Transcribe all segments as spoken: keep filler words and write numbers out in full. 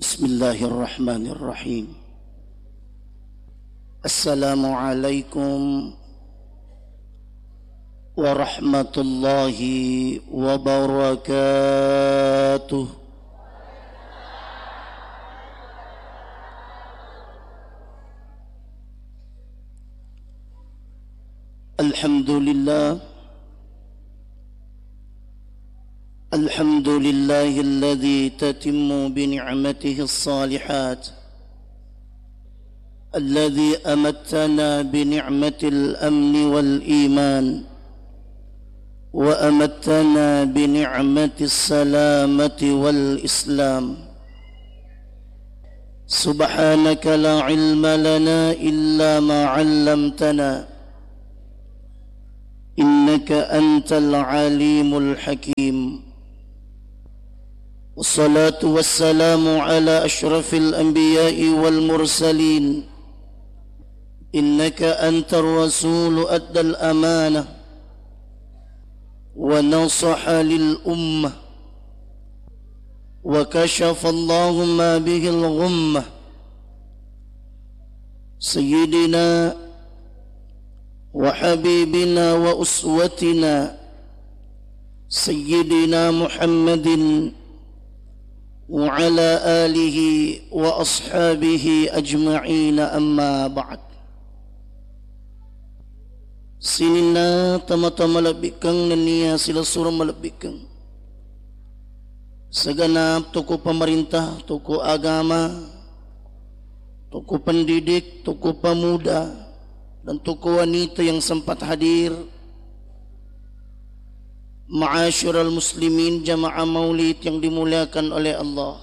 بسم الله الرحمن الرحيم. السلام عليكم ورحمة الله وبركاته. الحمد لله. الحمد لله الذي تتم بنعمته الصالحات، الذي أمتنا بنعمة الأمن والإيمان، وأمتنا بنعمة السلامة والإسلام. سبحانك لا علم لنا إلا ما علمتنا، إنك أنت العليم الحكيم. والصلاة والسلام على أشرف الأنبياء والمرسلين، إنك أنت الرسول أدى الأمانة ونصح للأمة وكشف الله ما به الغمة. سيدنا وحبيبنا وأسوتنا سيدنا محمد وعلى آله وأصحابه أجمعين، أما بعد. Sininna tomatoa malebbikkeng nennia silessureng malebbikkeng. Segenap tokoh pemerintah, tokoh agama, tokoh pendidik, tokoh pemuda, dan tokoh wanita yang sempat hadir. Ma'asyiral muslimin, jamaah maulid yang dimuliakan oleh Allah.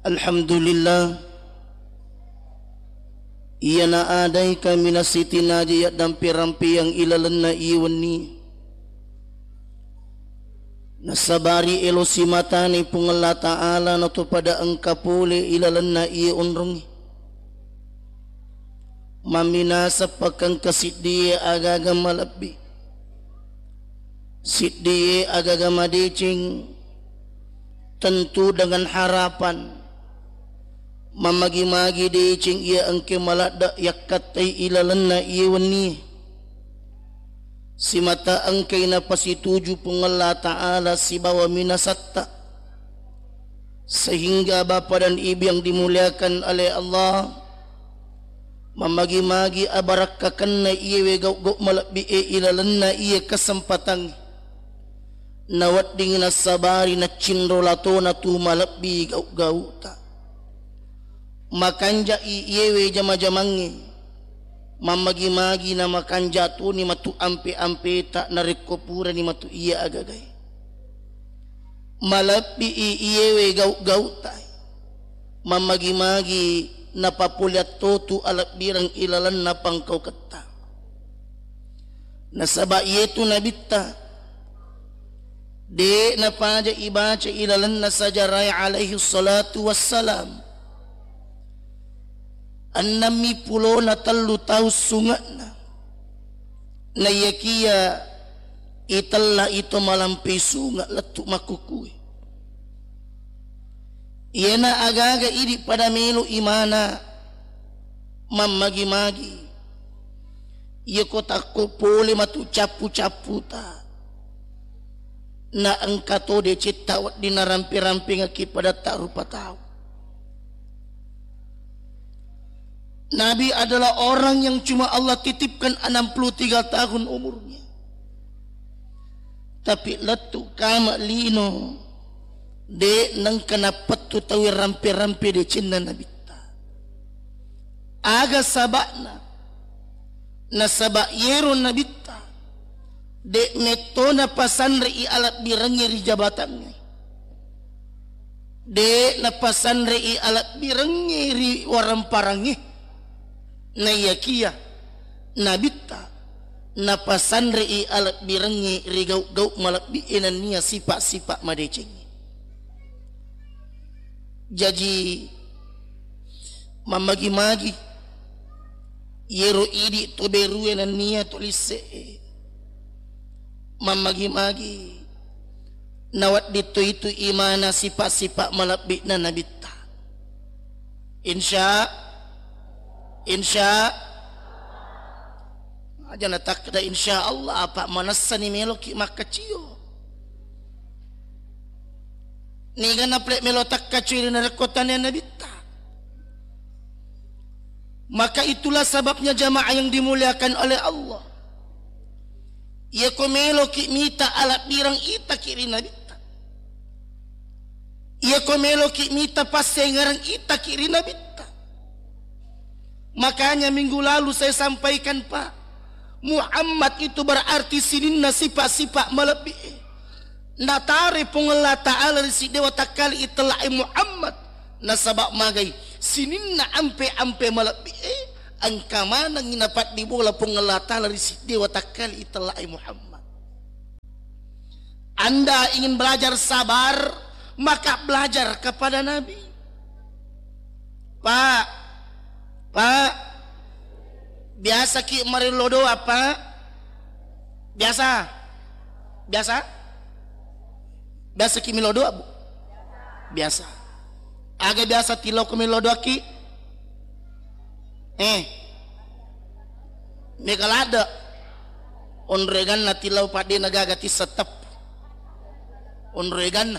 Alhamdulillah, iyana adai kaminasitinaja yaddampe-rampeang ilalenna iye wenni. Nasabari elo simatani Puang Allah Ta'ala natopada engka pole ilalenna iye onrongnge. Mamminasa pakengka siddie agaga malebbi, siddie agaga madeceng, tentu dengan harapan mammagi-magi deceng iya engke maladde yakkattai ilalenna iye wennie. Simata engkai napasituju Puang Allah Ta'ala sibawa minasatta. Sehingga Bapa dan Ibu yang dimuliakan oleh Allah, mammagi-magi abarakkakenna iyewe gau-gau malebbi'e ilalenna iye kesempatan. Nawedding nassabari naccinro latona tu malebbi gau-gauta. Makanja'i iyewe jama-jamangnge. Mammagi-magi namakanja toni matu ampe-ampeta narekko purani matu iya agagae. Malebbi'i iyewe gau-gauta. Mammagi-magi napapoleang totu alebbireng ilalenna pangkauketta. Nasaba iyetu nabitta, de napaja ibaca ilalenna sajarae alaihi salatu wassalam. Ennammi pulona tellu taung sunge'na. Naiyakiya itella ito malampe sunge lettu makkukue. Iyana agaga idi pada melo imana mammagi-magi. Iyako takko pole matu cappu-capputa. Na engka to decetta wedding narampe-rampengekki padatta rupa tau. Nabi adalah orang yang cuma Allah titipkan enam puluh tiga tahun umurnya. Tapi lettu kama lino, de nengka napettu tau rampe-rampe decenna nabitta. Aga saba'na? Nasaba yero nabitta de metto napasanrei alebbirengnge ri jabatangnge. De napasanrei alebbirengnge ri waramparangnge. Naiyakiya nabitta napasanrei alebbirengnge ri gau-gau malebbi'e nennia sipa-sipa madecengnge. Jaji, mammagi-magi yero idi to berue nennia to lisse'e. Mammagi-magi Nawedding to itu imana sipa-sipa malebbi'na Nabitta. Insya, insya, aja natakkeda insya Allah, apa manessani meloki makkacio. Niga napale melo takkacio ri narekko tania Nabitta. Maka itulah sebabnya jamaah yang dimuliakan oleh Allah. Iya ko meloki mita alabbireng itaki ri Nabitta. Iya ko meloki mita passengereng itaki ri Nabitta. Makanya minggu lalu saya sampaikan, Pak, Muhammad itu berarti sininna sipa-sipa malebbi. Natare Puang Allah Ta'ala ri siddewa takkali itella'e Muhammad. Nasaba magai sininna ampe-ampe malebbi e, engka manengngi napaddibola Puang Allah Ta'ala ri siddewa takkali itella'e Muhammad. Anda ingin belajar sabar, maka belajar kepada Nabi. Pak, Pak, biasa ki marillo doa, Pak? Biasa? Biasa? Biasa ki millo doa, Bu? Biasa. Aga biasa tillau ko millo doa ki? Eh. Mega ladde. Onreganna tillau padde na gaga tisseng teppu. Onreganna.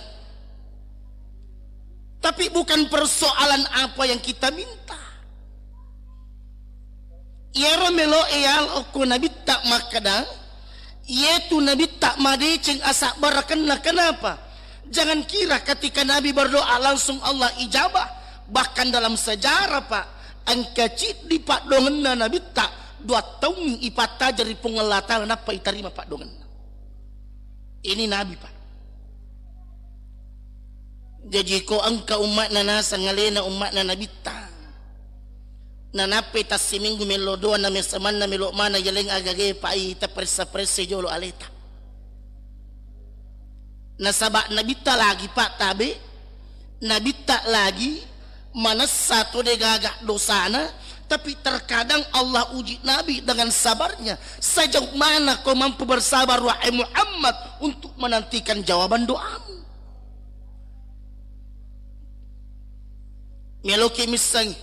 Tapi bukan persoalan apa yang kita minta. Iyaro melo e yalo okko Nabitta makkeda, iyetu Nabitta madeceng asabbarakenna. Kenapa? Jangan kira ketika Nabi berdoa langsung Allah ijabah. Bahkan dalam sejarah, Pak, engka ciddi paddoangenna Nabitta dua taung ipattajeng ri Puang Allah Ta'ala nappa itarima paddoangenna. Ini Nabi, Pak. Jaji ko engka umma'na naseng alena umma'na Nabitta. Nanappai tassiminggu mello doa na mesemanna melo mana yaleng agage pai tapressa-pressa jolo aleta. Nasaba Nabitta lagi, Pak, tabe, Nabitta lagi manessa to degaga dosana, tapi terkadang Allah uji Nabi dengan sabarnya. Sejauh mana kau mampu bersabar, wahai Muhammad, untuk menantikan jawaban doamu? Meloki missengi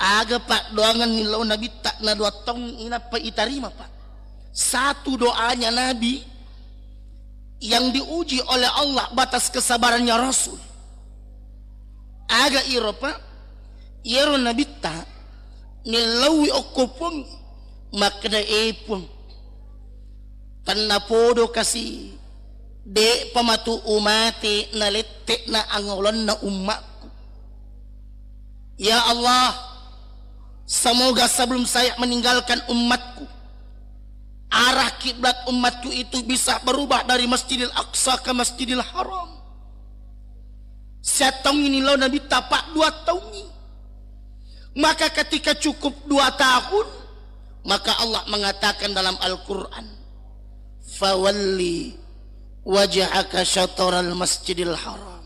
aga paddoangenni lao Nabitta na dua taung inappa itarima, Pak. Satu doanya Nabi yang diuji oleh Allah, batas kesabarannya Rasul. Aga iro, Pak? Iyaro Nabitta nillauwi okko Puang, makkeda, "E Puang, tennapodo kasi, de'pa matu umate nalette'na angolonna ummakku. Ya Allah, semoga sebelum saya meninggalkan umatku, arah kiblat umatku itu bisa berubah dari Masjidil Aqsa ke Masjidil Haram." Siattaungngi nillau Nabitta, Pak, dua taungngi. Maka ketika cukup dua tahun, maka Allah mengatakan dalam Al-Quran, "Fawalli wajhaka syataral Masjidil Haram."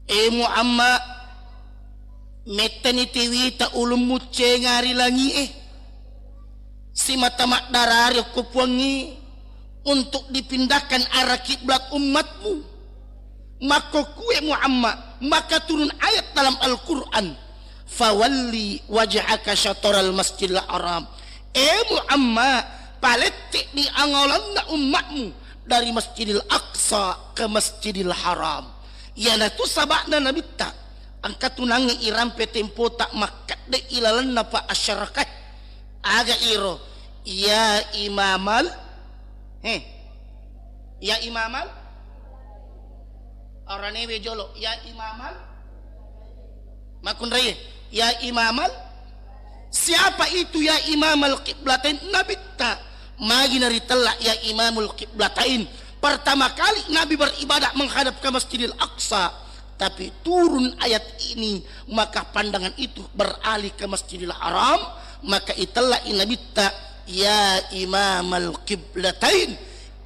E Muhammad, mettani tiwita ulummu cenga ri langi'e. Simata maddarari okko Puangnge untuk dipindahkan arah kiblat ummatmu. Makkokkue Muhammad, maka turun ayat dalam Al-Quran, "Fawalli wajhaka syataral Masjidil Haram." E Muhammad, palette'ni angolonna ummatmu dari Masjidil Aqsa ke Masjidil Haram. Iyanatu saba'na Nabitta, engka tunangnge irampe tempota makkedde ilalenna pa asyarakat. Aga iro? Ya imamal, he, ya imamal, aranewe jolo, ya imamal, makkunraie, ya imamal, siapa itu ya imamal qiblatain? Nabitta. Magi naritella ya imamul qiblatain? Pertama kali Nabi beribadah menghadap ke Masjidil Aqsa, tapi turun ayat ini, maka pandangan itu beralih ke Masjidil Haram, maka itella'i Nabitta, "Ya imamal qiblatain,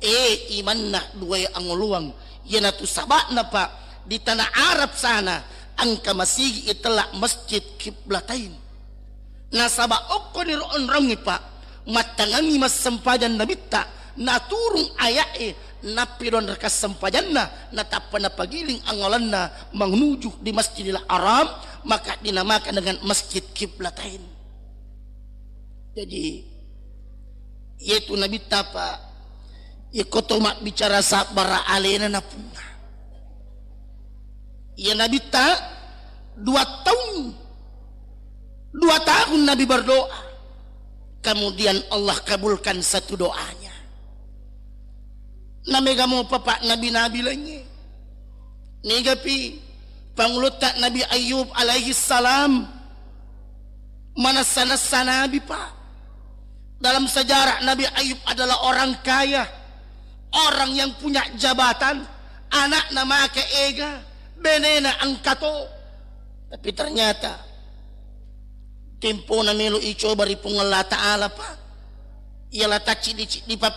e imanna duwae angoloang." Iyanatu saba'na, Pak, di tanah Arab sana engka masigi itella Masjid Qiblatain. Nasaba okkoniro onrongngi, Pak, mattangengngi massempajang Nabitta, naturung aya'e, Nappi don raka sempajanna, natappa napagiling angolanna menuju di Masjidil Haram, maka dinamakan dengan Masjid Qiblatain. Jadi, yaitu Nabitta, Pak, iyako to mabbicara sabbara alena napunna. Iya Nabitta dua tahun, dua tahun Nabi berdoa. Kemudian Allah kabulkan satu doanya. Namega mopa, Pak, nabi-nabi laingnge. Nigapi pangulutta Nabi Ayub alaihi salam, manessa-nessa nabi, Pak. Dalam sejarah, Nabi Ayub adalah orang kaya, orang yang punya jabatan, anakna make ega, benena engkato. Tapi ternyata tempona melo icoba ri Puang Allah Ta'ala, Pak. Iyalah tacciddi-ciddi pa